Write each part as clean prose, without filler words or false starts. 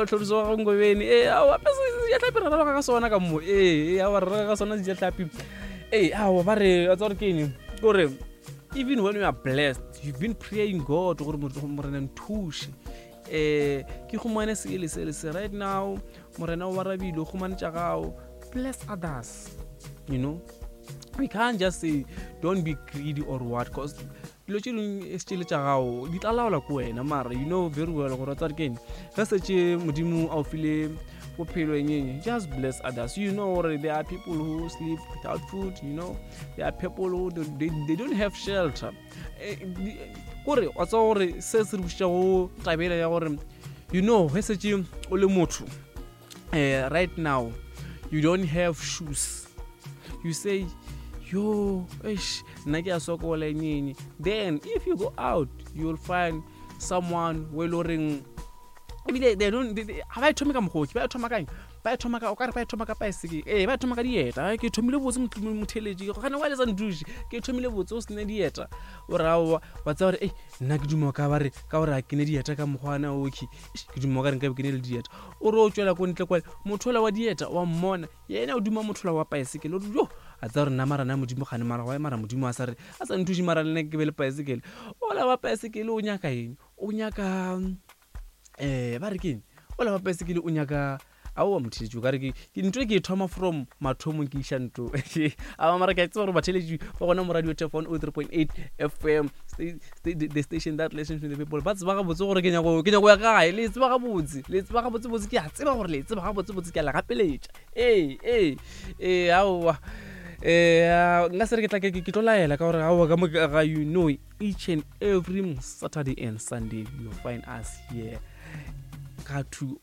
o tlhoriso wa gago Ngobeni. Ee, aowa, pe sejatlhapi re raloka ka sona ka mo. Ee, aowa, re raloka ka sona sejatlhapi. Ee, aowa, ba re, wa tseba gore ke eng? Ke gore even when you are blessed, you've been praying God gore Morena nthuše. Ke humane se le se le se. Right now, Morena o arabile, o humane tša gago. Bless others, you know. We can't just say don't be greedy or what, cause dilo tše dingwe e se tša gago di tla laola ko wena, mara you know very well gore tsare keng ge setse Modimo a o file bophelo engeng, just bless others. You know gore there are people who sleep without food, you know there are people who they don't have shelter. Kore wa tseba gore se se re bušetša go tabela ya gore, you know, ge setse o le motho, right now you don't have shoes, you say, yo, eish, nna ke a sokola enyenye. Then if you go out, you'll find someone we le goreng ebile they don't, ga ba e thome ka mogoki, ba e thoma kang? Ba e thoma ka, o kare ba e thoma ka paesekele. Ee, ba e thoma ka dieta. Ke thomile botse, motheletši gane wa letsa ntuši, ke thomile botse o sene dieta. O re aowa, wa tseba gore ei, nna ke duma ka bare ka gore a ke ne dieta ka mokgwana okay, ke duma ka re nkabe ke ne le dieta. O re o tswela ko ntle kwale, motho ola wa dieta wa mmona, yena o duma motho ola wa paesekele. O re yo, a tseba gore nna mara nna Modimo gane mara wa mara Modimo a sa re a sa nthuše mara le nna ke be le paesekele. Ola wa paesekele o nyaka eng? O nyaka ba re keng? Ola wa paesekele o nyaka aowa motheletši, o ka re ke ntho e ke e thoma from mathomong ke iša ntho. Aowa, mara ke a tseba gore batheletši ba gona mo Radio Turf 103.8 FM, the station that listens to the people, ba tseba gabotse gore ke nyako ya kae. Le tseba gabotse, le tseba gabotsebotse, ke a tseba gore le tseba gabotsebotse, ke a le gapeletša. Ee, ee, ee, aowa, nka se re ke tla ke tlo laela ka gore aowa ka mo ga, you know, each and every Saturday and Sunday you'll find us here ka 2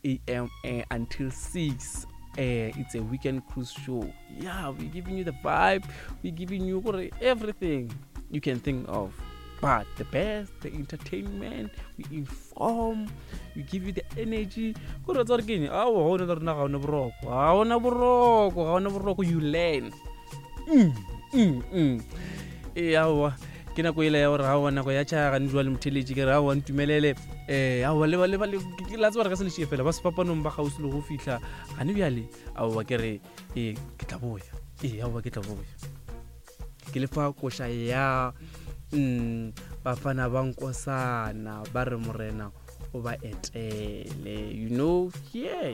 a.m. Until 6. It's a weekend cruise show. Yeah, we're giving you the vibe, we're giving you everything you can think of, but the best, the entertainment. We inform, we give you the energy. Kore tsa re keng? Aowa, ga ona le rena, ga ona boroko, ga ona boroko, ga ona boroko. You learn. Ee, aowa, ke nako ele ya gore aowa, nako ya tšhaya gane jwale motheletši. Ke re aowa, ntumelele, aowa, la tseba re ka se lešie fela ba sefapanong ba gausi le go fihla gane bjale. Aowa, ke re ee, ke tla boya. Ee, aowa, ke tla boya ke lefa koša ya Bafana ba Nkosana, ba re Morena o ba etele, you know. Yeah.